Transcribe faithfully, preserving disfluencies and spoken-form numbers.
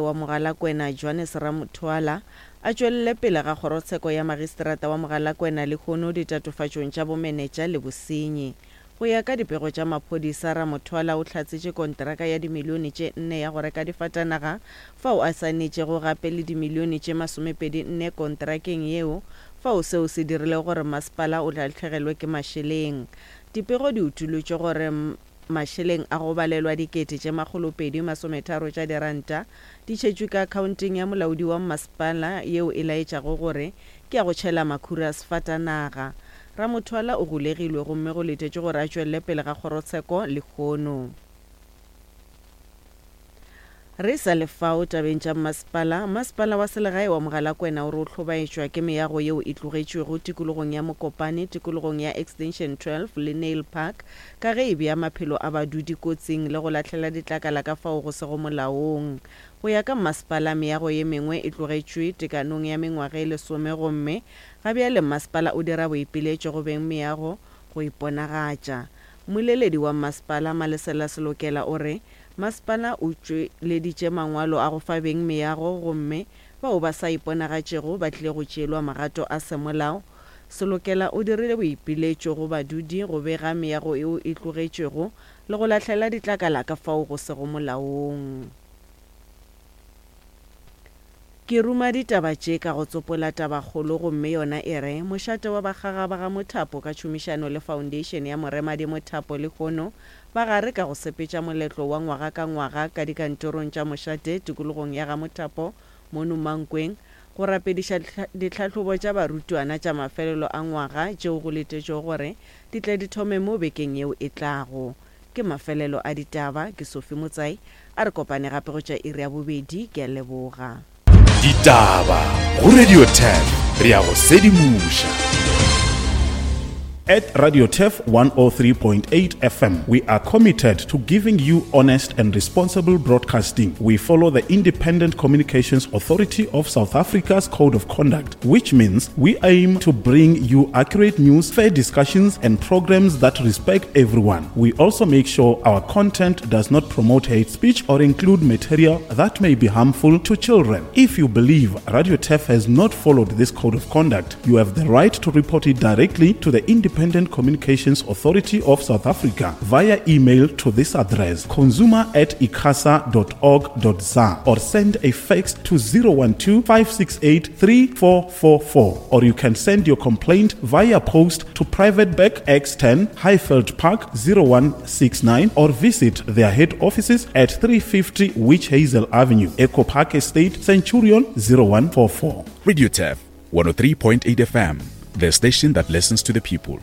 wa Mogalakwena Johannes Ramothwala a tšwelele pele ga kgorotsheko ya magistrata wa Mogalakwena lehono ditatofatšong tša bomenetša le bosenyi. Go ya ka dipego tša maphodisa, Ramothwala o hlatsetše konteraka ya dimilione tše nne ya go reka difatanaga fao a saenetšego gape le dimilione tše masomepedi nne konterakeng yeo fao seo se dirilego gore masepala o lahlegelwe ke mašeleng. Dipego di utolotše gore mašeleng a go balelwa dikete tše makgolopedi masometharo tša diranta di tšhetšwe ka akhaonteng ya molaodi wa masepala yeo e laetšago gore ke ya go tšhela makhura a sefatanaga. Ramothwala o golegilwe gomme go letetšwe gore a tšwelele pele ga kgorotsheko lehono. Re sa le fao tabeng tša mmasepala, Masepala wa Selegae wa Mogalakwena o re o hlobaetšwa ke meago yeo e tlogetšwego tikologong ya Mokopane, tikologong ya Extension twelve le Nail Park ka ge e bea maphelo a badudi kotsing le go lahlela ditlakala ka fao go sego molaong. Go ya ka mmasepala, meago ye mengwe e tlogetšwe tekanong ya mengwaga e lesome gomme ga bjale mmasepala o dira boipiletšo go beng meago go iponagatša. Mmoleledi wa mmasepala, Malesela Selokela o re masepala o tšweleditše mangwalo a go fa beng meago gomme bao ba sa iponagatšego ba tlile go tšeelwa magato a semolao. Selokela o dirile boipiletšo go badudi go bega meago yeo e tlogetšwego le go lahlela ditlakala ka fao go sego molaong. Ke ruma ditaba tše ka go tsopola tabakgolo gomme yona e re, Mošate wa Bakgaga ba ga Mothapo ka tšhomišano le Foundation ya Moremadi Mothapo lehono ba gare ka go sepetša moletlo wa ngwaga ka ngwaga ka dikantorong tša mošate tikologong ya ga Mothapo mono Mankweng go rapediša ditlhahlobo tša barutwana tša mafelelo a ngwaga tšeo go letetšwego gore di tle di thome mo bekeng yeo e tlago. Ke mafelelo a ditaba, ke Sophie Motsai, a re kopane gape go tša iri ya bobedi, ke a leboga. Ditaba go Radio Turf, re a go sedimoša. At Radio Turf one oh three point eight F M, we are committed to giving you honest and responsible broadcasting. We follow the Independent Communications Authority of South Africa's Code of Conduct, which means we aim to bring you accurate news, fair discussions, and programs that respect everyone. We also make sure our content does not promote hate speech or include material that may be harmful to children. If you believe Radio Turf has not followed this code of conduct, you have the right to report it directly to the Independent Communications Authority of South Africa via email to this address, consumer at icasa dot org dot za, or send a fax to zero one two, five six eight, three four four four, or you can send your complaint via post to Private Bag X ten, Highveld Park zero one six nine, or visit their head offices at three fifty Witch Hazel Avenue, Echo Park Estate, Centurion zero one four four. Radio Turf one oh three point eight F M, the station that listens to the people.